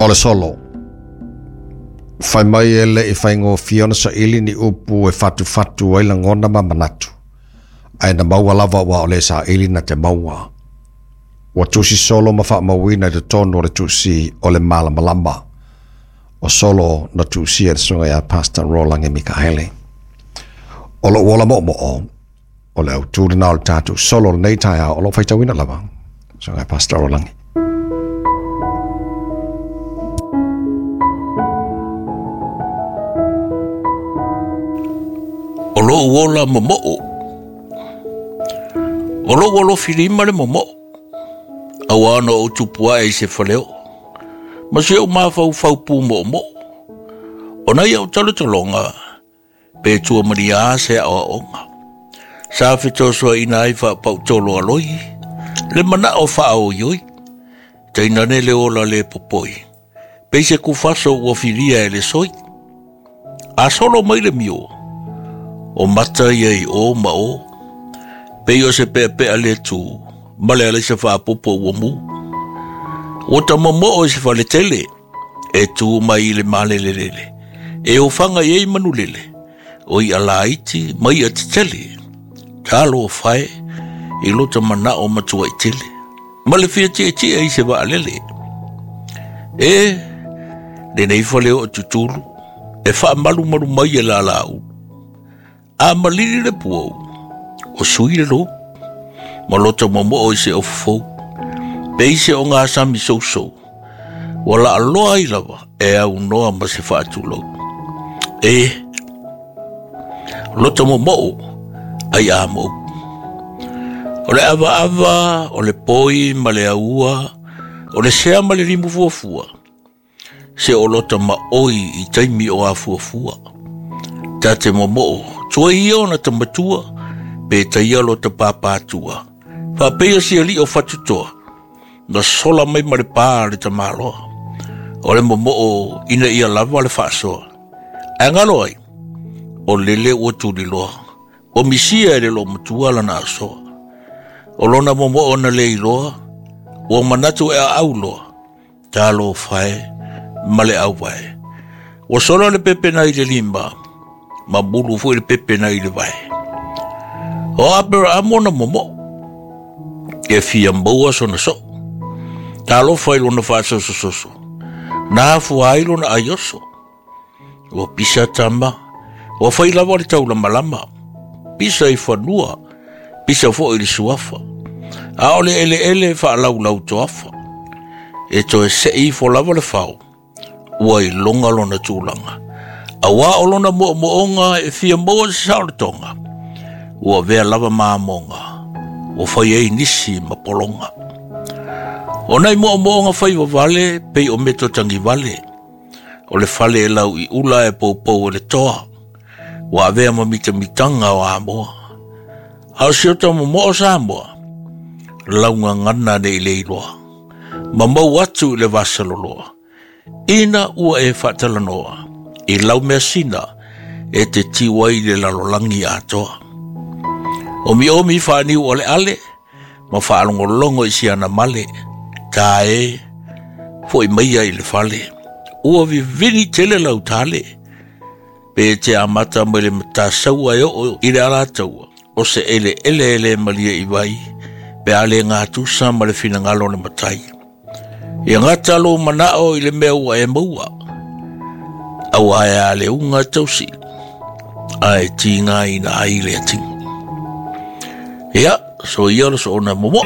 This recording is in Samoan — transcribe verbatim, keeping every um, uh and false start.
O le solo. Fai mai e le i whaingōfia ona sa ili ni upu e fatu fatu ai langona ma manatu. Ai na maua lava wa o le sa ili na te maua. Ua tusi solo ma whaamauina i te tonu o le tusi o le malamalama. O solo na tusi e le sunga ia Pastor Rolangi Mikaele. O lo uola mo mo o. O le autū na o le tātou solo nei taia o lo whaitawina lava. Sunga Pastor Rolangi. O lo uola momo'o. O lo uolo filima le momo'o. Aua ona o tupua e se faleo. Ma se o mawhau whau pū mo'omo'o. O nai au talotolonga, pe tua maria se a oaonga. Sa fetosoa ina ai whapautolo aloi, le mana o whaao ioi. Tainane le ola le popoi. Pe se kufaso ua filia e le soi. A solo mai le mio. O mata ia i o ma o. Pe o se pea pea le tu. Male ale se whaapopo ua mu. O ta momoo se whaletele. E tu mai le malelelele. E o whanga i manulele. O i alaiti mai a tetele. Talo o whae i lota mana o matua i tele. Male fia tia tia i se waalele. E, le nei whale o tutulu. E wha malu malu mai e la la u. A malili le puau. O sui le lo. Ma lota momoo i se ofofou. Pe i se o ngā sami sousou. Wala aloa i lava e au noa ma se whaatulou. E, lota momoo ai a mou. O le ava ava, o le poi ma le aua, o le sea ma le limu fuafua. Se o lota ma oi i taimi o a fuafua. Ta te momoo, tua ia ona tamatua, pe taia lota pāpātua. Whapea si ali o whatutoa, na sola mai ma le pā le tamaloa. O le momoo ina ia lava le whaasoa. A ngalo ai, o lele ua tuliloa. O misia e le lo matua lana asoa. O lona momoo na le iloa, ua manatu e a auloa. Talo whae, ma le auwae. Ua sola le pepe na i le lima, ma bulu fui le pepe na i le vae. O apera amona momoo. E fia maua sona so. Talo whai lona whaasosososo. Nā fua ai lona aioso. Ua pisa tama. Ua whai lava le taula malama. Pisa i whanua. Pisa fo i le suafa. A ole ele ele wha lau lau toafa. E toe se i fo lava le whao. Ua i longa lona tūlanga. A wā o lona mo moonga e fia maua se saolatonga. Ua vea lava maamonga. Ua whai ei nisi ma polonga. O nai mo moonga whai wawale pei o meto tangi wale. O le whale e lau i ula e poupou e le toa. Ua avea ma mita mitanga o amoa. Hao siota mo moo sa amoa. Launga ngana ne i leiloa. Ma mau atu i le vasaloloa. Ina ua e whaatalanoa. I lau mea sina e te tiwai le lalolangi atoa. O mi omi whaaniu o le ale, ma whaalongolongo i siana male, tā e, fo i maia i le fale. Ua vivini tele lau tale, pe te amata mai le matasaua e o i le alataua, o se ele ele ele malia i vai, pe ale ngā tusa ma le finangalo le matai. Ia ngata lo manao i le mea ua e maua, aua e ale unga tausi, ae tinga ina ai le atinga. Ia, so ia lo so ona momo.